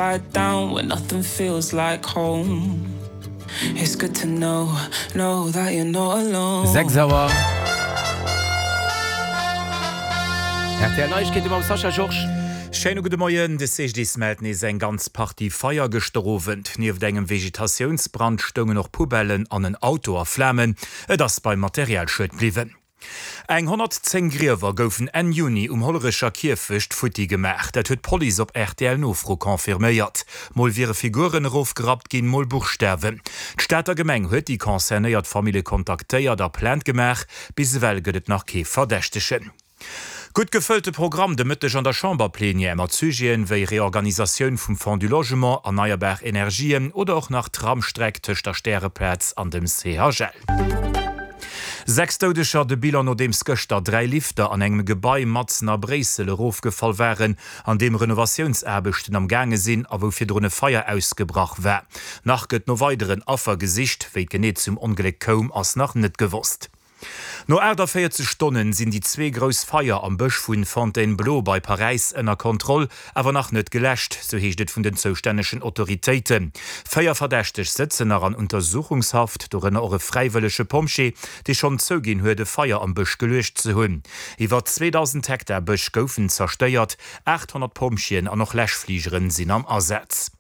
Down when nothing feels like home It's good to know, know that you're not alone. 6 Auer. Rtl Neiegkeete mam Sascha Georges. Schéine gudde Moien. De CGDIS mellt nees eng ganz Partie Feier gëschter Owend. Nieft engem Vegetatiounsbrand stoungen och Poubellen an en Auto a Flamen. Et ass beim Materialschued bliwwen. Eng 110 Griewer goufen Enn Juni um Hollerecher Kierfecht futti gemaach. Dat huet d'Police op RTL-Nofro confirméiert. Mol wiere Figuren erofgerappt ginn, mol Buchstawen. D'Stater Gemeng huet déi concernéiert Famille kontaktéiert a Plainte gemaach. Bis ewell gëtt et nach kee Verdächtegen. Gutt gefëllte Programm de Mëtteg an der Chamberplenière mat Sujeten wéi Reorganisatioun vum Fonds du Logement, erneierbar Energien oder och nach Tramstreck tëscht der Stäreplaz an dem CHL. 6 Doudeger, de Bilan nodeems gëschter 3 Lifter an engem Gebai matzen a Bréissel erofgefall waren, an deem Renovatiounsaarbechten am gaange sinn a wou virdrun e Feier ausgebrach war. Nach gëtt no weideren Affer gesicht. Wéi et genee zum Ongléck koum, ass nach net gewosst. No 48 Stonnen sinn déi zwee grouss Feier am Bësch vu Fontainebleau bei Paräis ënner Kontroll, awer nach net geläscht, sou heescht et vun den zoustännegen Autoritéiten. 4 Verdächteg sëtzen nach an Untersuchungshaft, dorënner och e fräiwëllege Pompjee, dee schonn zouginn huet, e Feier am Bësch geluecht ze hunn. Iwwer 2.000 Hektar Bësch goufen zerstéiert, 800 Pompjeeën an och Läschfligeren sinn am Asaz.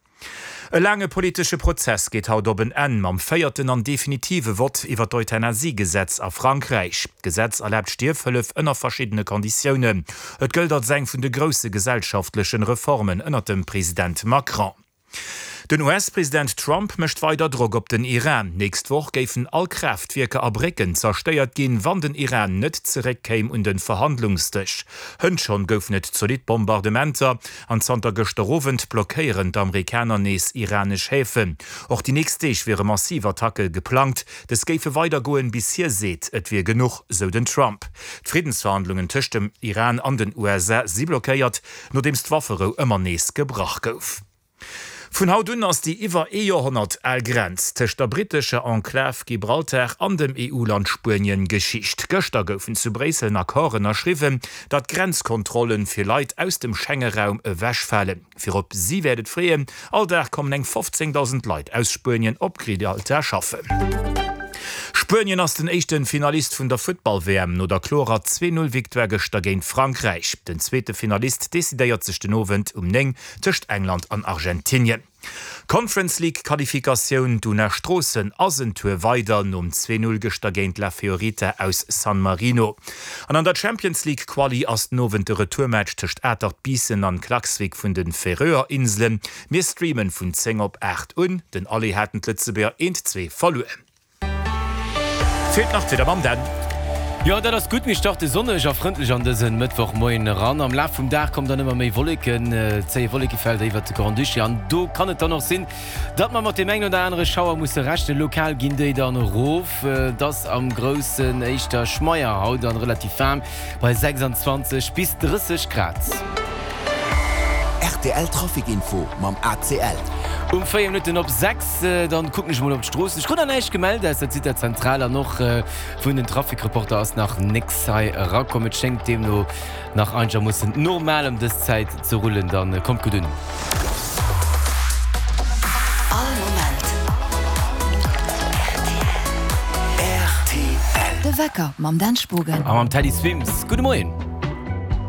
E laange politesche Prozess geet haut op en Enn mam véierten an definitive Vott iwwer d'Euthanasie-Gesetz a Frankräich. D'Gesetz erlaabt Stierfhëllef ënner verschiddene Konditiounen. Et gëllt als eng vun de grousse gesellschaftlechen Reformen ënner dem President Macron. Den US-President Trump mécht weider Drock op den Iran. Nächst Woch géifen all Kraaftwierker a Brécken zerstéiert ginn, wann den Iran net zeréckkéim un de Verhandlungsdësch. Hënt schonn goufen et zolidd Bombardementer An zanter gëschter Owend blockéieren d'Amerikaner nees iranesch Häfen. Och déi nächst Deeg wiere massiv Attacke geplangt. Dës géife weidergoen, bis hie seet, et wier genuch, sou den Trump. D'Friddensverhandlungen tëscht dem Iran an den USA si blockéiert, nodeems d'Wafferou ëmmer nees gebrach gouf. Vun haut un ass déi iwwer ee Joerhonnert al Grenz tëscht der brittescher Enklav Gibraltar an dem EU-Land Spuenien Geschicht. Gëschter goufen zu Bréissel en Accord ënnerschriwwen, datt d'Grenzkontrollen fir Leit aus dem Schengeraum ewechfalen. Virop si wäert et freeën, all Dag kommen eng 15.000 Leit aus Spuenien op Gibraltar schaffen. Spuenien ass den éischte Finalist vun der Futtball-WM no der klorer Zwee-Null-Victoire gëschter géint Frankräich. Den zweete Finalist decidéiert sech den Owend um 9 tëscht England an Argentinien. Conference League Qualifikatioun, D'Una Stroossen ass en Tour weider nom 2, 0 gëschter géint La Fiorita aus San Marino. An an der Champions League Quali ass den Owend de Retourmatch tëscht Atert Biissen an Klaksvik vun de Färöer Inselen. Mir streamen vun 10 op 8 un. Den Aller haten d'Lëtzebuerger 1, 2 verluer. Feelt nach d'Wieder mam Dan. Jo, dat ass gutt. Mir starte sonneg a frëndlech an dësen Mëttwochmoien eran. Am Laf vum Dag kommen dann ëmmer méi Wolleken, zéie Wollekefelder iwwert de Grand-Duché an do kann et dann och sinn, datt mer mat deem engen oder anere Schauer musse rechnen. Lokal ginn déi dann erof. Et ass am Groussen éischter schmeier haut an relativ waarm bei 26 bis 30 Grad. Rtl Trafic Info mam ACL. Um 4 Minutten op 6, dann kucken ech mol op d'Stroossen. Ech krut nach näischt gemellt aus der Zitazentral an och vun den Traficreporter ass nach nécks hei erakomm. Et schéngt deemno nach einegermoossen normal ëm dës Zäit ze rullen. Dann kommt gutt un. All Moment rtl. De Wecker mam Dan Spogen. A mam Teddy Swims. Gudde Moien.